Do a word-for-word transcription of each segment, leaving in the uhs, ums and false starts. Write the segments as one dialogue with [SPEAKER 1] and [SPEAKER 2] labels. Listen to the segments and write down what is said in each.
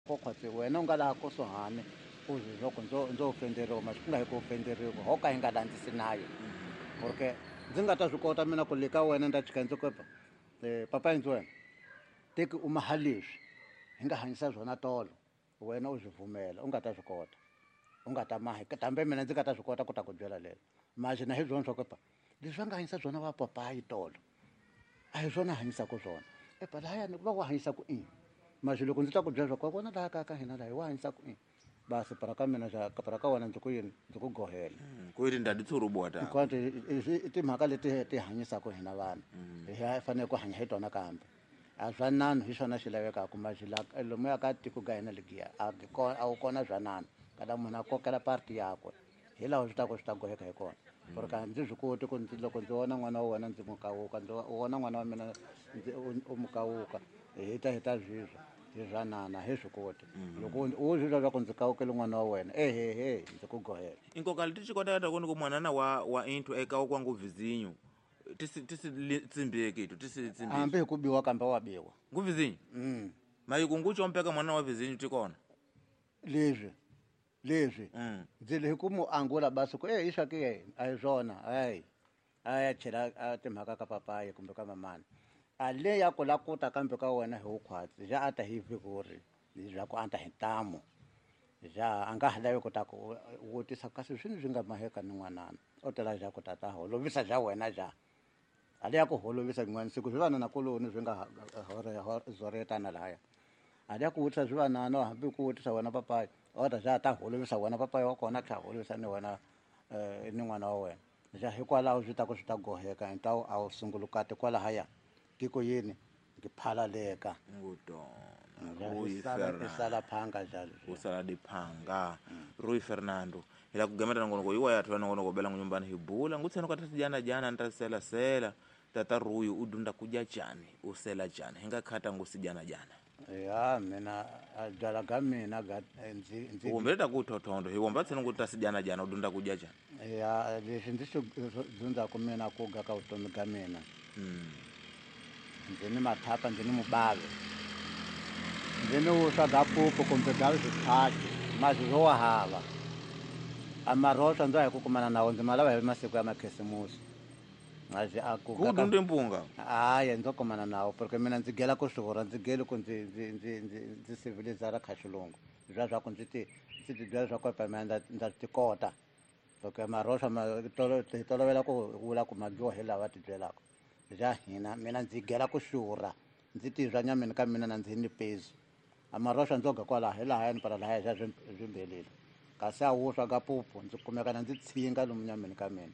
[SPEAKER 1] Ko khwatsi wena u nga laha kusuhani u swi loko ndzo ndzo ofenderiwa ma swi ku nga hi ku ofenderiwa ho ka hi nga landzisi nayo porque ndzi nga ta swi kota mina ku le ka wena ni ta chika ndzi ku um papa yindzi wena teki u maha leswi hi nga hanyisa swona tolo wena u swi pfumela u nga ta swi kota u nga ta maha kambe mina ndzi nga ta swi kota ku ta ku byela lelo maji na hi byona swa ku pa leswi va nga hanyisa swona va papayi tolo a hi swona hanyisaka swona epa lahayani va wa hanyisa ku ini maji loko ndzi ta ku byela swa ku wa vona laha kaya ka hina laha hi wa hanyisa ku ini basi para ka mina xa para ka wena ndzi ku yini ndzi ku gohela
[SPEAKER 2] ku ri ndadi tshurubuwa ta
[SPEAKER 1] hinkwato i timhaka leti ti hanyisaka hina vanhu hi fanele ku hanya hi tona kambe a swa nanu hi swona swi lavekaka maji la lomuya ka tiko ka hina legiya a a wu kona swa nanu kada munhu a kokela parti yakwe hi laha swi ta ku swi ta goheka hi kona porque a ndzi swi koti ku ndzi loko ndzi vona n'wana wa wena ndzi n'wi kawuka ndzi vona n'wana wa mina ndzi u mu kawuka hi ta hi ta zwizwa hi swa nana hi swi koti loko u swi twa swa ku ndzi kawukele n'wana wa wena ehehe ndzi ku gohela
[SPEAKER 2] inkoka leti xi kotaka ta ku ni ku mwanana wa wa inthu eka wa kwangu vizinyo tisi tisi tsimbeki to tisi tsimbeki
[SPEAKER 1] hambi hi ku biwa kambe wa biwa
[SPEAKER 2] ngu vizinyo
[SPEAKER 1] mm
[SPEAKER 2] mayiku ngu chompeka mwana wa vizinyo tikona
[SPEAKER 1] leswi leswi
[SPEAKER 2] mm
[SPEAKER 1] ndzi le hi ku mu angula basi ku e hi swa ke a hi swona hayi a ya chela a timhaka ka papayi kumbe ka mamani a le ya ku la kuta kambe ka wena hi wukhwatsi ja a ta hi vikuri leswaku ku a ta hi ntamu ja a nga ha lavi ku ta ku vutisa kasi swini swi nga maheka ni n'wanana u tela ja ku tata holovisa ja wena ja a le ya ku holovisa yin'wana siku swi vanana kuloni swi nga zoretana lahaya a le ya ku vutisa swi vanana hambi ku vutisa wena papayi o ta ja ta holovisa wena papayi wa kona tlha holovisa ni wena um ni n'wana wa wena ja hikwalaho swi ta ku swi ta goheka hi ntawu a wu sungulukati kwalahaya tiko yini ngiphalaleka
[SPEAKER 2] ngutona Rui
[SPEAKER 1] i sala
[SPEAKER 2] Fernando
[SPEAKER 1] sala phanga njalo
[SPEAKER 2] u sala diphanga Rui Fernando ila kugemeta nongonoko iwa yathu ya nongonoko bela nyumbani hibula ngutseno ka jana jana ntasela sela tata Rui u dunda kuja chani usela chani hinga khata ngusi jana jana
[SPEAKER 1] ya mina a byala ga mina ga ndzi ndzi
[SPEAKER 2] umbeleta kuthothondo hiwomba tseno kuti tasijana jana u dunda kuja chani
[SPEAKER 1] ya leswi ndzi swi dyondzaku mina ku ga ka vutomi ga mina
[SPEAKER 2] mm.
[SPEAKER 1] ndzi ni mathapa ndzi ni mubave ndzi ni vuswa ga pupu kumbe ga swiphaki mazi swo wa hava a maroswa ndzo hi ku kumana nawo ndzi ma lava hi masiku ya makhisimusi mazi a ku
[SPEAKER 2] ku dunde mpunga
[SPEAKER 1] hayi ndzo kumana nawo porque mina ndzi gela ku swihura ndzi geli ku ndzi ndzi ndzi ndzi ndzi civilizara kha xilungu leswiya swa ku ndzi ti ndzi ti byela swa ku epa mina ndza ndza ti kota porque maroswa ma tolo hi tolovela ku vula ku ma dyiwa hi lava ti byelaka bya hina mina ndzi gela ku xurha ndzi tizwa nyameni ka mina na ndzi ni pezu a maroswa ndzo ga kwalaho hi lahayani para lahaya xa swi swi mbelile kasi a wuswa ga pupu ndzi kumeka na ndzi tshinga lomu nyameni ka mina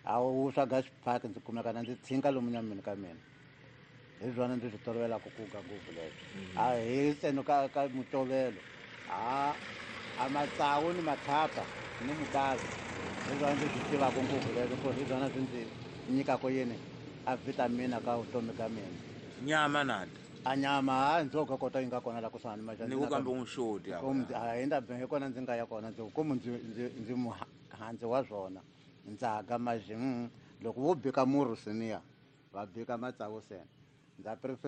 [SPEAKER 1] a wuswa ga xiphaki ndzi kumeka na ndzi tshinga lomu nyameni ka mina hi swona ndzi swi tolovelaka ku ga ngopfu leswo a hi ntseno ka ka mutovelo a a matsawu ni mathapa ni mubazi hi swona ndzi swi tivaka ngopfu leswo ku hi swona swi ndzi nyikaka yini a vitamina ka vutomi ka mina
[SPEAKER 2] nyama nada
[SPEAKER 1] a nyama hayi ndzo ga kota yi nga kona la kusuhani
[SPEAKER 2] ni ku kambe unxoti
[SPEAKER 1] hi nda hi kona ndzi nga ya kona ndzi kumu ndzi ndzi ndzi muhandzi wa swona ndzaga maji mm, loko vo bika murhu siniya va bika matsavu sena ndza prefer